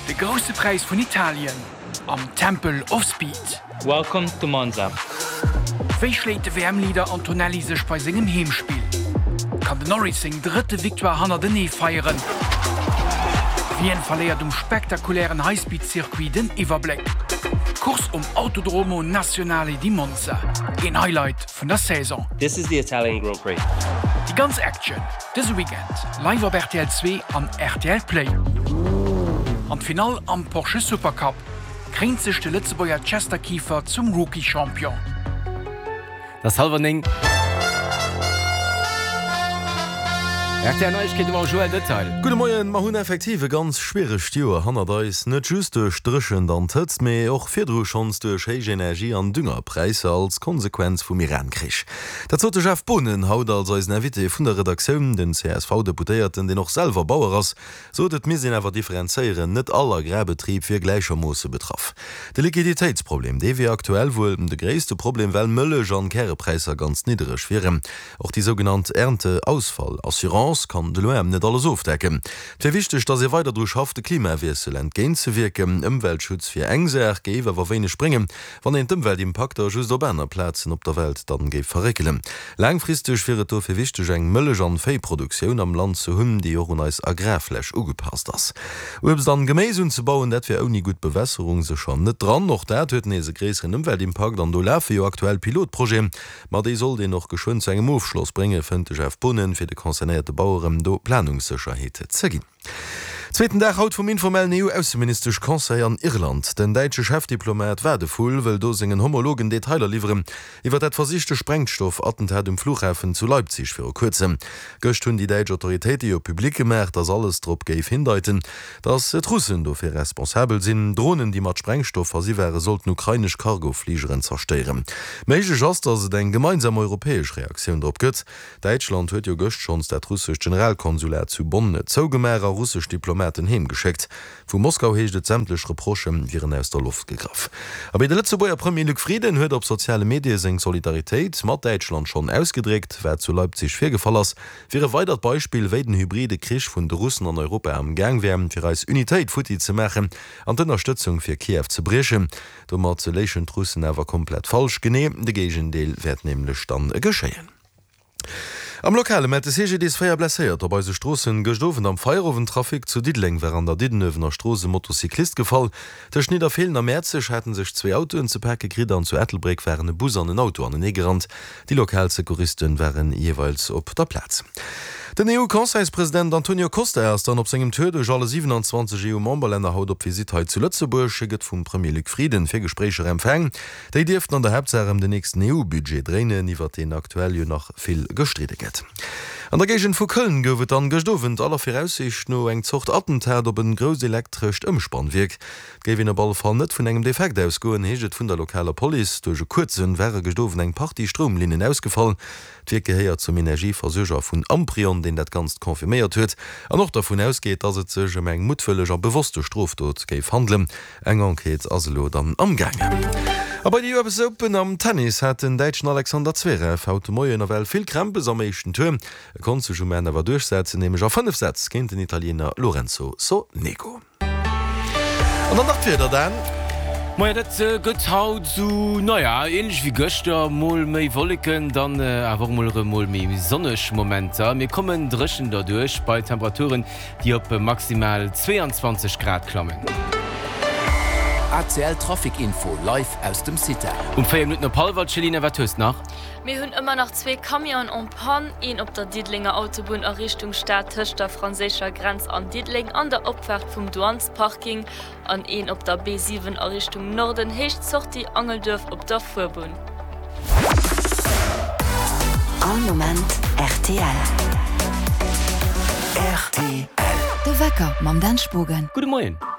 De Grousse Präis vun Italien am Temple of Speed. Welcome to Monza. Wéi schléit de WM-Leader Antonelli sech bei sengem Heemspill? Kann den Norris seng drëtte Victoire hannertenee feieren? Wien verléiert um spektakulären Highspeed-Circuit den Iwwerbléck? D'Course um Autodromo Nazionale di Monza, een Highlight vun der Saison. This is the Italian Grand Prix. Déi ganz Action dëse Weekend live op rtl 2 an rtl Play. An d'Finall am Porsche Supercup, Kréint sech de Lëtzebuerger Chester Kieffer zum Rookie-Champion. Et ass hallwer 9. Rtl Neiegkeete mam Joël Detail. Gudde Moien, Mer hunn effektiv e ganz schwieregt Joer hannert eis, net just duerch d'Dréchent an d'Hëtzt, mee och virdru schonns duerch héich Energie an Düngerpräisser als Konsequenz vum Iran-Krich. Dat sot de Jeff Boonen haut als eisen Invité vun der Redaktioun. Den CSV-Deputéierten, deen och selwer Bauer ass, Sot, et misst een awer differenzéieren, net all Agrarbetrib wier gläichermoosse betraff. De Liquiditéitsproblem, dee wier aktuell wuel de gréisste Problem, well Mëllech an Kärepräisser ganz niddereg wieren. Och déi sougenannt Ernteausfall-Assurance kann de loin net alles ofdecken. Et wier wichteg, datt ee weider dru schafft, de Klimawiessel entgéintzewierken. Ëmweltschutz wier eng Saach, géif awer wéineg bréngen, Wann een d'Ëmweltimpakter just op aner Plazen op der Welt dann géif verréckelen. Laangfristeg wier et dofir wichteg eng Mëllech an Véiproduktioun am Land ze hunn, déi och un eis Agrarfläch ugepasst ass. Uebst an Geméis unzebauen, dat wier ouni gutt Bewässerung sécher net dran. Och dat huet nees e gréisseren Ëmweltimpakt an do lafe jo aktuell Pilotprojeten, ma déi sollt een och geschwënn zu engem Ofschloss bréngen, fënnt de Jeff Boonen, fir de concernéierte Baueren do Planungssécherheet ze ginn. Zweeten Dag haut vum informellen EU-Ausseministesch-Conseil an Irland. Den däitsche Chefdiplomat Wadephul wëll do sengen Homologen Detailer liwweren iwwer dat versichte Sprengstoff-Attentat um Flughafen zu Leipzig viru kuerzem. Gëscht hunn déi däitsch Autoritéite jo public gemaach, datt alles drop géif hindeiten, datt d'Russen dofir responsabel sinn. Dronen, déi mat Sprengstoff versi ware sollten ukrainesch Cargofligeren zerstéieren. Méiglech ass, datt et eng gemeinsam europäesch Reaktioun drop gëtt. Däitschland huet jo gëscht schonns dat russescht Generalkonsulat zu Bonn zougemaach a russesch Diplomaten heemgeschéckt. Vu Moskau heescht et, sämtlech Reprochë wieren aus der Loft gegraff. Abee, de Lëtzebuerger Premier Luc Frieden huet op soziale Medie seng Solidaritéit mat Däitschland schonn ausgedréckt. Wat zu Leipzig virgefall ass, wier e weidert Beispill, wéi den hybride Krich vun de Russen an Europa am Gaang wär, fir eis Unitéit futti ze maachen an d'Ënnerstëtzung fir Kiew ze briechen. Domat léichen d'Russen awer komplett falsch. Genee de Géigendeel wäert nämlech dann geschéien. Am Lokale mellt de CGDIS 4 Blesséierter op eise Stroossen. Gëscht Owend am Feierowendtrafic zu Diddeleng war an der Diddenuewener Strooss e Motocyclist gefall. Tëscht Nidderfeelen a Mäerzeg hate sech zwee Autoen ze pake kritt an zu Ettelbréck waren e Bus an en Auto anenee gerannt. Déi lokal Secouristen waren jeeweils op der Plaz. Den EU-Conseilspresident Antonio Costa ass dann op sengem Tour duerch alle 27 EU-Memberlänner haut op Visitt hei zu Lëtzebuerg. Hie gëtt vum Premier Luc Frieden fir Gespréicher empfaang. Déi dierften an der Haaptsaach ëm den nächsten EU-Budget dréinen, iwwer deen aktuell jo nach vill gestridde gëtt. An der Géigend vu Köln gouf et dann gëscht Owend aller Viraussiicht no eng Zort Attentat op en grousst elektrescht Ëmspannwierk. Et géif een op alle Fall net vun engem Defekt ausgoen, heescht et vun der lokaler Police. Duerch e kuerze ware gëscht Owend eng Partie Stroumlinnen ausgefall. D'Wierk gehéiert zum Energieversuerger vun Amprion, deen dat Ganzt confirméiert huet an och dervun ausgeet, datt et sech ëm eng muttwëlleg a bewosste Strofdot géif handelen. Eng Enquête ass elo dann amgaangen. A bei de US Open am Tennis hat den Däitschen Alexander Zverev haut de Moien nawell vill Krämpes am éischten Tour. E konnt sech um Enn awer duerchsetzen, nämlech a 5 Sätz géint den Italiener Lorenzo Sonego. An dann nach d'Wieder, Dan. Moien, dat gëtt haut sou, naja, ähnlech wéi gëschter, mol méi Wolleken, dann awer och mol erëm mol méi sonneg Momenter. Mir kommen dréchen derduerch bei Temperaturen, déi op maximal 22 Grad klammen. ACL Trafic Info live aus dem CITA. Um 4 Minutten op hallwer, Céline, wat hues nach? Mir hunn ëmmer nach zwee Camionen en panne, een op der Diddelenger Autobunn a Richtung Stad tëscht der franséischer Grenz an Diddeleng an der Opfaart vum Douanesparking an een op der B7 a Richtung Norden, Héicht Sortie Angelduerf op der Fuerbunn. All Moment rtl. Rtl. De Wecker mam Dan Spogen. Gudde Moien.